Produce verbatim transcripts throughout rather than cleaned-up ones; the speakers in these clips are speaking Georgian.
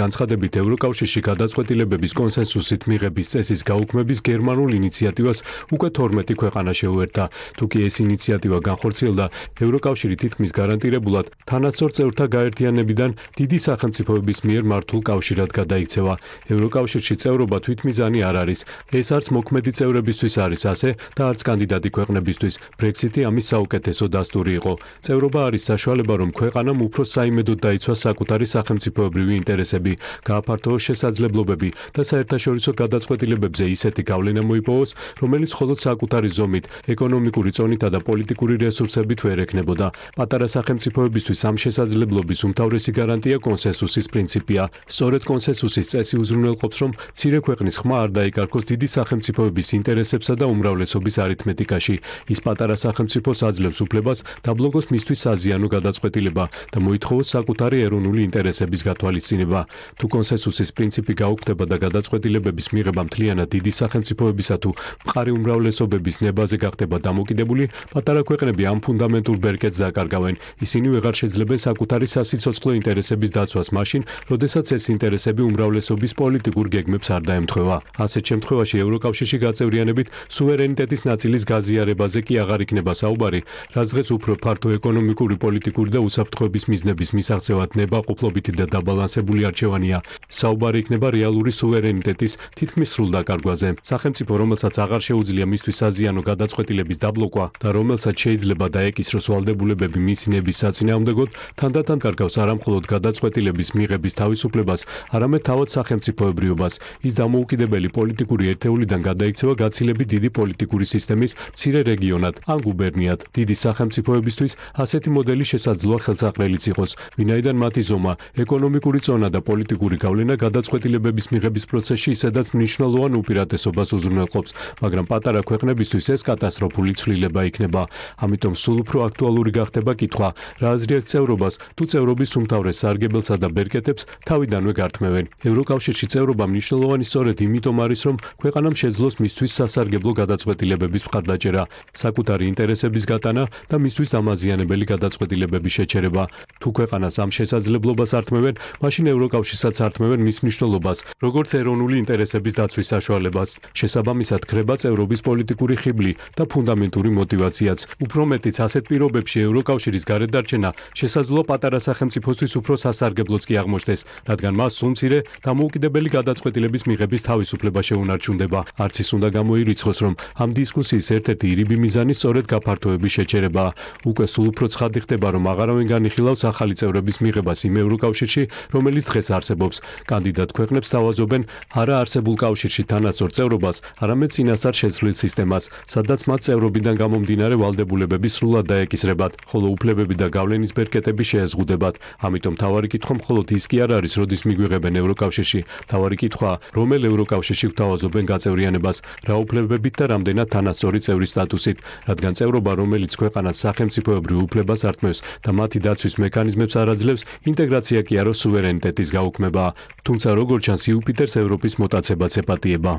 განცხადებით ევროკავშირში გადაწყვეტილებების კონსენსუსით მიღების წესის გაუქმების გერმანულ ინიციატივას უკვე თორმეტი ქვეყანა შეუერთა. თუკი ეს ინიციატივა განხორციელდა, ევროკავშირი თითქმის გარანტირებულად თანასწორ წევრთა გაერთიანებიდან დიდი სახელმწიფოების მიერ მართულ კავშირად გადაიქცევა. ევროკავშირში წევრობა თვითმიზანი არ არის. ეს არც მოქმედი წევრებისთვის არის ასე და არც კანდიდატი ქვეყნებისთვის. ბრექსიტი ამის საუკეთესო დასტური იყო. წევრობა არის საშუალება, რომ ქვეყანამ უფრო საიმედოდ დაიცვას საკუთარი სახელმწიფოებრივი ინტერესები, გააფართოოს შესაძლებლობები და საერთაშორისო გადაწყვეტილებებზე ისეთი გავლენა მოიპოვოს, რომელიც მხოლოდ საკუთარი ზომით, ეკონომიკური წონითა და პოლიტიკური რესურსებით ვერ ექნებოდა. პატარა სახელმწიფოებისთვის ამ შესაძლებლობის უმთავრესი გარანტია კონსენსუსის პრინციპია. სწორედ კონსენსუსის წესი უზრუნველყოფს, რომ მცირე ქვეყნის ხმა არ დაიკარგოს დიდი სახელმწიფოების ინტერესებსა და უმრავლესობის არითმეტიკაში. ის პატარა სახელმწიფოს აძლევს უფლებას დაბლოკოს მისთვის საზიანო გადაწყვეტილება და მოითხოვოს საკუთარი ეროვნული ინტერესების გათვალისწინება. თუ კონსენსუსის პრინციპი გაუქმდება და გადაწყვეტილებების მიღება მთლიანად დიდი სახელმწიფოებისა თუ მყარი უმრავლესობების ნებაზე გახდება დამოკიდებული, პატარა ქვეყნები ამ ფუნდამენტურ ბერკეტს დაკარგავენ. ისინი ვეღარ შეძლებენ საკუთარი სასიცოცხლო ინტერესების დაცვას მაშინ, როდესაც ეს ინტერესები უმრავლესობის პოლიტიკურ გეგმებს არ დაემთხვევა. ასეთ შემთხვევაში ევროკავშირში გაწევრიანებით სუვერენიტეტის ნაწილის გაზიარებაზე კი აღარ იქნება საუბარი, რაც დღეს უფრო ფართო ეკონომიკური, პოლიტიკური და უსაფრთხოების მიზნების მისაღწევად ნებაყოფლობითი და დაბალანსებული არჩევანია. საუბარი იქნება რეალური სუვერენიტეტის თითქმის სრულ დაკარგვაზე. სახელმწიფო, რომელსაც აღარ შეუძლია მისთვის საზიანო გადაწყვეტილების დაბლოკვა და რომელსაც შეიძლება დაეკისროს ვალდებულებები მისი ნების საწინააღმდეგოდ, თანდათან კარგავს არა მხოლოდ გადაწყვეტილების მიღების თავისუფლებას, არამედ თავად სახელმწიფოებრიობას. ის დამოუკიდებელი პოლიტიკური ერთეულიდან გადაიქცევა გაცილებით დიდი პოლიტიკური სისტემის მცირე რეგიონად ან გუბერნიად. დიდი სახელმწიფოებისთვის ასეთი მოდელი შესაძლოა ხელსაყრელიც იყოს, ვინაიდან მათი ზომა, ეკონომიკური წონა და პოლიტიკური გავლენა გადაწყვეტილებების მიღების პროცესში ისედაც მნიშვნელოვან უპირატესობას უზრუნველყოფს, მაგრამ პატარა ქვეყნებისთვის ეს კატასტროფული ცვლილება იქნება. ამიტომ სულ უფრო აქტუალური გახდება კითხვა, რა აზრი აქვს წევრობას, თუ წევრობის უმთავრეს სარგებელსა და ბერკეტებს თავიდანვე გართმევენ. ევროკავშირში წევრობა მნიშვნელოვანი სწორედ იმიტომ არის, რომ ქვეყანამ შეძლოს მისთვის სასარგებლო გადაწყვეტილებების მხარდაჭერა, საკუთარი ინტერესების გატანა და მისთვის დამაზიანებელი გადაწყვეტილებების შეჩერება. თუ ქვეყანას ამ შესაძლებლობას ართმევენ, მაშინ ევროკავშირსაც ართმევენ მის მნიშვნელობას, როგორც ეროვნული ინტერესების დაცვის საშუალებას. შესაბამისად, ქრება წევრობის პოლიტიკური ხიბლი და ფუნდამენტური мотиваციაც. უფრო მეტიც, ასეთ პირობებში ევროკავშირის გარედარჩენა შესაძლოა პატარა სახელმწიფოსთვის უფრო სასარგებლოც კი აღმოჩნდეს, რადგან მას სულ მცირე დამოუკიდებელი გადაწყვეტილების მიღების თავისუფლება შეუნარჩუნდება. არც ის უნდა გამოირიცხოს, რომ ამ დისკუსიის ერთ-ერთი ირიბი მიზანი სწორედ გაფართოების შეჩერებაა. უკვე სულ უფრო ცხადი ხდება, რომ აღარავინ განიხილავს ახალი წევრების მიღებას იმ ევროკავშირში, რომელიც დღეს არსებობს. კანდიდატ ქვეყნებს თავაზობენ არა არსებულ კავშირში თანასწორ წევრობას, არამედ წინასწარ შეცვლილ სისტემას, სადაც მათ წევრობიდან გამომდინარე ვალდებულებები სრულად დაეკისრებათ, ხოლო უფლებები და გავლენის ბერკეტები შეეზღუდებათ. ამიტომ მთავარი კითხვა მხოლოდ ის კი არ არის, როდის მიგვიღებენ ევროკავშირში. მთავარი კითხვაა, რომელ ევროკავშირში გვთავაზობენ გაწევრიანებას, რა უფლებებით და რამდენად თანასწორი წევრის სტატუსით, რადგან წევრობა, რომელიც ქვეყანას სახელმწიფოებრივ უფლებას ართმევს და მათი დაცვის მექანიზმებს არ აძლევს, ინტეგრაცია კი არა სუვერენიტეტის გაუქმებაა. თუმცა როგორც ჩანს, იუპიტერს ევროპის მოტაცებაც ეპატიება.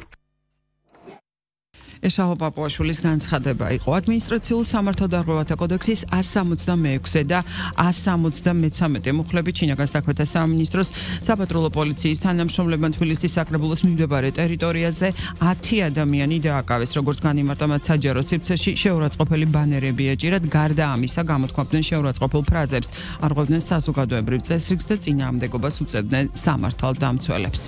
ეშავა პაპუაშვილის განცხადება იყო ადმინისტრაციულ სამართალდარღვევათა კოდექსის one sixty-six და one seventy-three მუხლებით ჩინაგან საქმეთა სამინისტროს საპატრულო პოლიციის თანამშრომლებმა თბილისის საკრებულოს მიმდებარე ტერიტორიაზე ten ადამიანი დააკავეს, როგორც განიმარტა მათ საჯარო სივრცეში შეურაცხყოფელი ბანერები ეჭირათ, გარდა ამისა გამოთქვამდნენ შეურაცხყოფელ ფრაზებს, არღვევდნენ საზოგადოებრივ წესრიგს და წინააღმდეგობას უწევდნენ სამართალდამცველებს.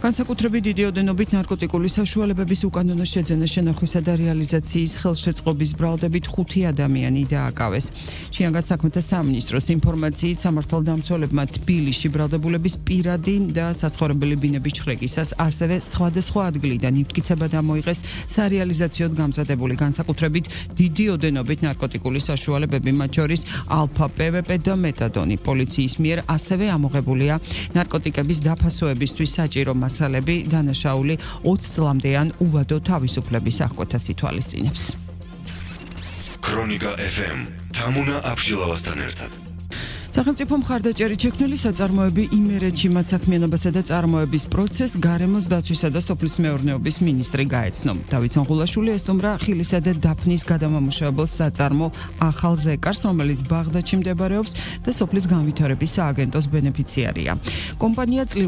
განსაკუთრებით დიდი ოდენობით ნარკოტიკული საშუალებების უკანონო შეძენა, შენახვისა და რეალიზაციის ხელშეწყობის ბრალდებით ხუთი ადამიანი დააკავეს. შინაგან საქმეთა სამინისტროს ინფორმაციით სამართალდამცველებმა თბილისში ბრალდებულების პირადი და საცხოვრებელი ბინების ჩხრეკისას, ასევე სხვადასხვა ადგილიდან იფტკიცება დამოიღეს სარეალიზაციოდ გამზადებული განსაკუთრებით დიდი ოდენობით ნარკოტიკული საშუალებები, მათ შორის ალფა პევეპე და მეტადონი. პოლიციის მიერ ასევე ამოღებულია ნარკოტიკების დაფასოებისთვის საჭირო მასალები, დანაშაული ოცი წლამდე ან უვადო თავისუფლების აღკვეთას ითვალისწინებს. ქრონიკა ეფ ემ თამუნა აბშილავასთან ერთად. სახელმწიფო მხარდაჭერით შექმნილი საწარმოები იმერეთში მათ საქმიანობასა და წარმოების პროცესს გარემოს დაცვისა და სოფლის მეურნეობის მინისტრი გაეცნო. დავით სონღულაშვილი ესტუმრა ხილისა და დაფნის გადამამუშავებელ საწარმო ახალ ზეკარს, რომელიც ბაღდადში მდებარეობს და სოფლის განვითარების სააგენტოს ბენეფიციარია. კომპანია